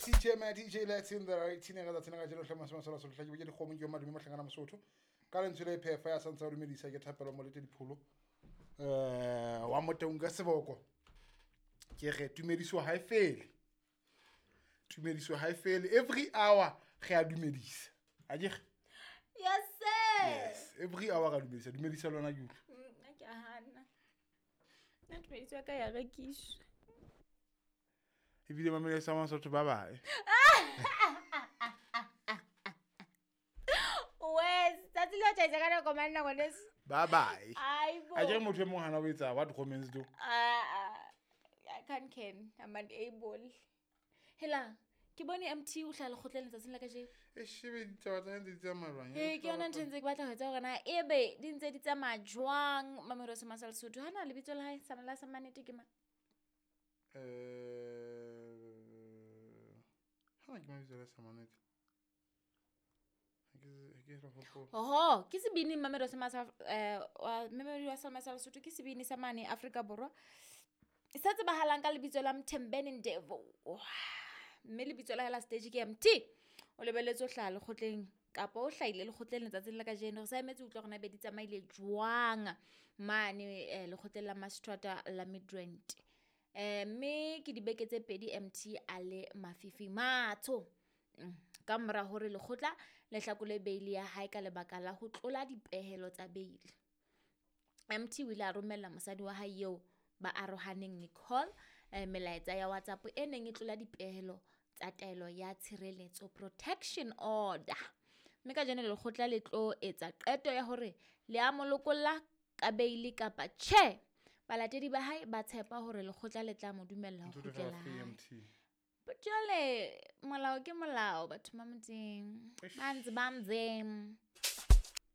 CJ man DJ Latin the right thina ka tsatsing la kajeno hle masome a solo hlake ke dikgomo ke madume mohlangana Mosotho ka lentswe le phefa ya santsa o dumedisa ke thapelo molete dipholo wa Motaung ka seboko ke re tumediso ha e fele, tumediso ha e fele, every hour re a dumedisa akere. Yes sir. Yes, every hour re a dumedisa, dumedisa lona ke utlwe. Nna ke a hana. Nna tumediso ya ka ya rekiswa. Ebile mamele sa Masotho ba bae. Wes, tsatsi le o tjhaisa ka nako mang nako neso? Ba bae. Aibo. A kere motho e mong hana o etsa what comments do. Ah, I can't can. I'm unable. Hela, ke bone MT o hlaha lekgotleng letsatsing la kajeno. E shebe ditaba tsa hae ntse di tsamaya jwang? Ee, ke yona ntho e ntse ke batla ho etsa hore na ebe di ntse di tsamaya jwang Mamelodi sa Lesotho. Hana lebitso la hae sa la sa mannete ke mang? Hana ke mabitso la sa mannete. Ha ke re hopola. Oho, ke sebini Mamelodi sa wa Mamelodi wa sa Lesotho ke sebini sa mane Afrika Borwa. Sa tsebahalang ka lebitso la Mthembeni Ndevo. Mme lebitso la hae la stage ke MT. O lebelletse ho hlaha lekgotleng kapa o hlahile lekgotleng letsatsing la kajeno. Re sa emetse ho utlwa hore na ebe di tsamaile jwang mane lekgotleng la Maseterata la Midrand. Mme ke dibeke tse pedi MT a le mafifi matsho. Ka mora hore lekgotla le hlakole beili ya hae ka lebaka la ho tlola dipehelo tsa beili. MT o ile a romella mosadi wa hae eo ba arohaneng Nicole melaetsa ya WhatsApp e neng e tlola dipehelo tsa taelo ya tshireletso protection order. Mme kajeno lekgotla le tlo etsa qeto ya hore le a mo lokolla ka beili kapa tjhe. Balatedi ba hae ba tshepa hore lekgotla le tla mo dumella ho Ntho tse kgutlela free hae. MT. But jwale molao ke molao batho ba Modimo. Eish. Ba ntse ba mzeng.